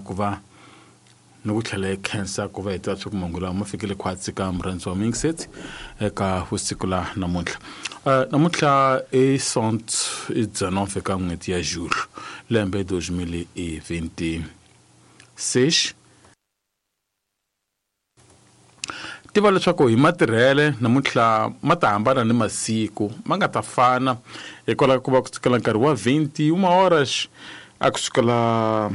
Ku va ni ku tlhela hi khensa ku va hi tiva leswaku mahungu lawa ma fikile khwatsi ka murhandzi wa Mingset eka vusiku la namuntlha. Namuntlha i sont i 19 ka n'hweti ya Julho lembe 2026. Tiva leswaku hi matirhele namuntlha ma ta hambana ni masiku ma nga ta fana hikwalaho ka ku va ku sukela nkarhi wa 21 horas a ku sukela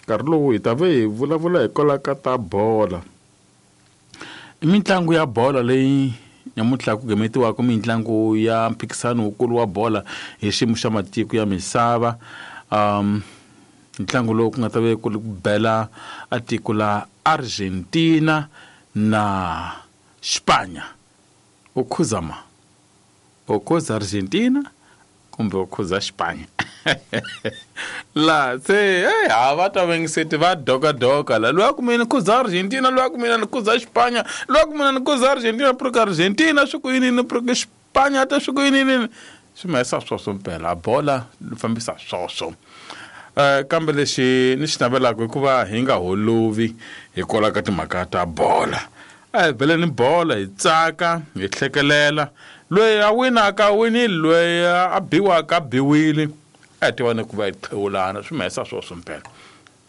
nkarhi lowu hi ta ve hi vulavula hikwalaho ka ta bola. I mitlangu ya bolo leyi namuntlha ku gemetiwaka mitlangu ya mphikisano wukulu wa bola hi xiyimo xa matiko ya misava. Um ntlangu lowu ku nga ta ve ku ri ku bela a tiko la Argentina na Xipanya. U khuza ma? U khuza Argentina kumbe u khuza Xipanya? La se hey, ha va ta vengiseti va dokadoka la loyi a ku mina ni khuza Argentina loyi a ku mina ni khuza Xipanya loyi a ku mina ni khuza Argentina pruka Argentina swi ku yini ni pruka Xipanya ta swi ku yini yini swi mahisa swoswo mpela bola li fambisa swoswo. Kambe lexi ni xi navelaka i ku va hi nga holovi hikwalaho ka timhaka ta bola. A hi beleni bolo hi tsaka hi hlekelela. Loyi a winaka a winile, loyi a biwaka a biwile. A hi tivani ku va hi qhewulana swi mahisa swoswo mpela.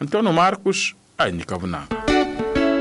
Antonio Marcos a hi nyika vunanga.